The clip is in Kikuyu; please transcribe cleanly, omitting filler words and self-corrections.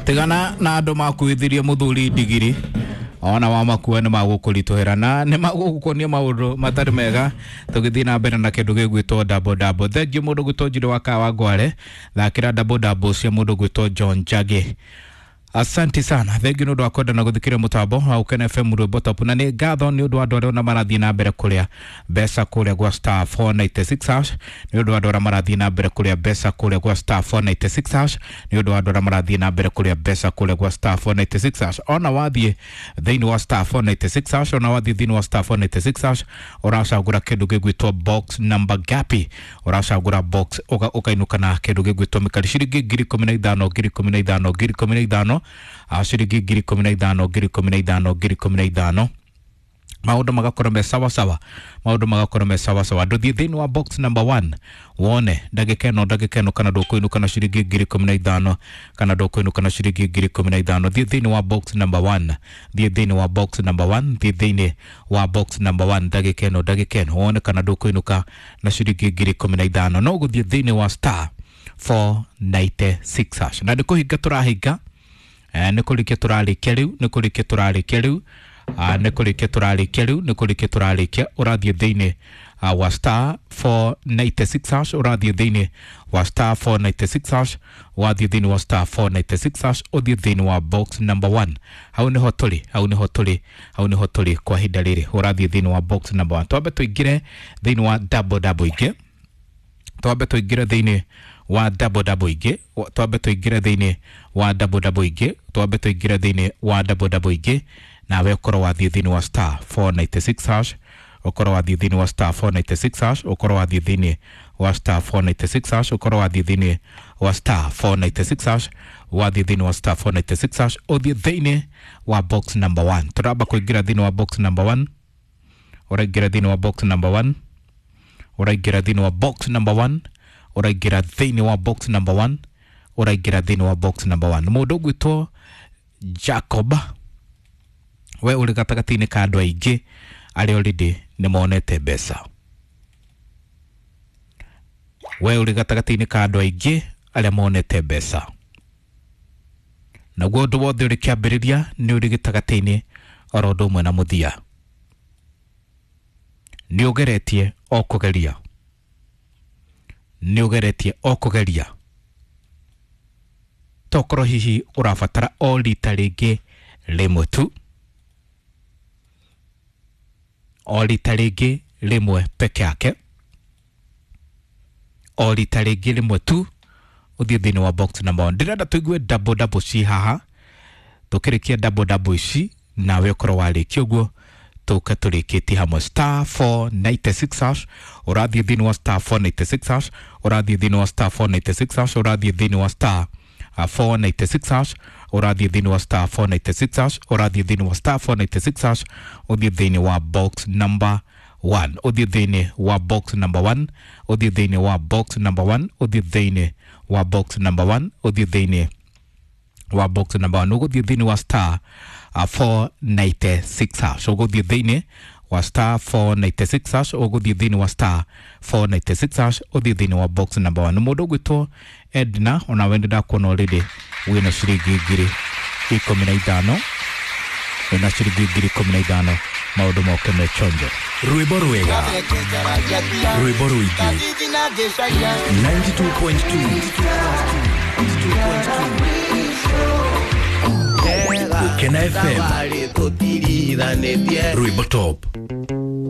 Tigana na andũ makuithirie mũthuri ndigiri ona wa makua nĩ magũkũritũhĩra na nĩ magũgũkonia maũndũ matarĩ mega. Tũgĩthiĩ na mbere na kĩndũ gĩgwĩtwo double double. Thengiũ mũndũ gwĩtwo Njirũ wa Kawa Ngware, thakĩra double double cia mũndũ gwĩtwo John Njagi. Asante sana, thengiũ nĩ ũndũ wa kwenda na gũthikĩrĩria mũtambo wa Ukena FM rwĩmbo top, na nĩ ngatho nĩ ũndũ wa andũ arĩa ona marathiĩ na mbere kũrĩa mbeca kũrĩa gwa star 496 hash, nĩ ũndũ wa andũ arĩa marathiĩ na mbere kũrĩa mbeca kũrĩa gwa star 496 hash, nĩ ũndũ wa andũ arĩa marathiĩ na mbere kũrĩa mbeca kũrĩa gwa star 496 hash. Ona wathiĩ thĩinĩ wa star 496 hash, ona wathiĩ thĩinĩ wa star 496 hash, ũracagũra kĩndũ gĩgwĩtwo box number gapi, ũracagũra box ũkainũka na kĩndũ gĩgwĩtwo mĩkari ciringi 15,000 15,000 15,000 ciringi 15,000 15,000 15,000. Maũndũ magakorwo me sawa sawa, maũndũ magakorwo me sawa sawa. Ndũthiĩ thĩinĩ wa box number 1 wone ndagĩka ĩno, ndagĩka ĩno kana ndũkũinũka na ciringi 15,000, kana ndũkũinũka na ciringi 15,000. Thiĩ thĩinĩ wa box number 1, thiĩ thĩinĩ wa box number 1, thiĩ thĩinĩ wa box number 1 ndagĩka ĩno, ndagĩka ĩno wone kana ndũkũinũka na ciringi 15,000. No gũthiĩ thĩinĩ wa star 496 hash, na nĩ kũhinga tũrahinga, nĩ kũrĩkia tũrarĩkia rĩu, nĩ kũrĩkia tũrarĩkia rĩu, nĩ kũrĩkia tũrarĩkia rĩu, nĩ kũrĩkia tũrarĩkia. Ũrathiĩ thĩinĩ wa star 496 hash, ũrathiĩ thĩinĩ wa star 496 hash, wathiĩ thĩinĩ wa star 496 hash, ũthiĩ thĩinĩ wa box number 1. Hau nĩho tũrĩ, hau nĩho tũrĩ, hau nĩho tũrĩ kwa ihinda rĩrĩ. Ũrathiĩ thĩinĩ wa box number 1. Twambe tũingĩre thĩinĩ wa double double ingĩ, twambe tũingĩre thĩinĩ wa double double ingĩ, twambe tũingĩre thĩinĩ wa double double ingĩ, twambe tũingĩre thĩinĩ wa double double ingĩ. Nawe ũkorwo wathiĩ thĩinĩ wa star 496 hash, ũkorwo wathiĩ thĩinĩ wa star 496 hash, ũkorwo wathiĩ thĩinĩ wa star 496 hash, ũkorwo wathiĩ thĩinĩ wa star 496 hash, wathiĩ thĩinĩ wa star 496 hash, ũthiĩ thĩinĩ wa box number 1. Tũramba kũingĩra thĩinĩ wa box number 1, ũraingĩra thĩinĩ wa box number 1, ũraingĩra thĩinĩ wa box number 1, ũraingĩra thĩinĩ wa box number 1, ũraingĩra thĩinĩ wa box number 1. Mũndũ ũgwĩtwo Jacob, we ũrĩ gatagatĩ-inĩ ka andũ aingĩ arĩa already nĩ monete mbeca. We ũrĩ gatagatĩ-inĩ ka andũ aingĩ arĩa monete mbeca, naguo ũndũ wothe ũrĩ kĩambĩrĩria nĩ ũrĩ gĩtagatĩ-inĩ oro ũndũ ũmwe na mũthia. Nĩ ũgeretie o kũgeria, nĩ ũgeretie o kũgeria, tokorwo hihi ũrabatara o rita rĩngĩ rĩmwe tu, o rita rĩngĩ rĩmwe peke yake, o rita rĩngĩ rĩmwe tu, ũthiĩ thĩinĩ wa box number 1. Ndĩrenda tũigue double double ci haha, tũkĩrĩkia double double ici nawe ũkorwo warĩkia ũguo tũke tũrĩkĩtie hamwe. Star 496 hash, ũrathiĩ thĩinĩ wa star 496 hash, ũrathiĩ thĩinĩ wa star 496 hash, ũrathiĩ thĩinĩ wa star 496 hash, ũrathiĩ thĩinĩ wa star 496 hash, ũrathiĩ thĩinĩ wa star 496 hash, ũthiĩ thĩinĩ wa box number 1, ũthiĩ thĩinĩ wa box number 1, ũthiĩ thĩinĩ wa box number 1, ũthiĩ thĩinĩ wa box number 1, ũthiĩ thĩinĩ wa box number 1, ũgũthiĩ thĩinĩ wa star 496 hash, ũgũthiĩ thĩinĩ wa star 496 hash, ũgũthiĩ thĩinĩ wa star 496 hash, ũthiĩ thĩinĩ wa box number 1. Mũndũ ũgwĩtwo Edna, onawe nĩ ndakuona already wĩna ciringi 15,000, wĩna ciringi 15,000. Maũndũ moke me chonjo. Rwĩmbo rwega, rwĩmbo rũingĩ, 92.2 Ukena FM, rwĩmbo top.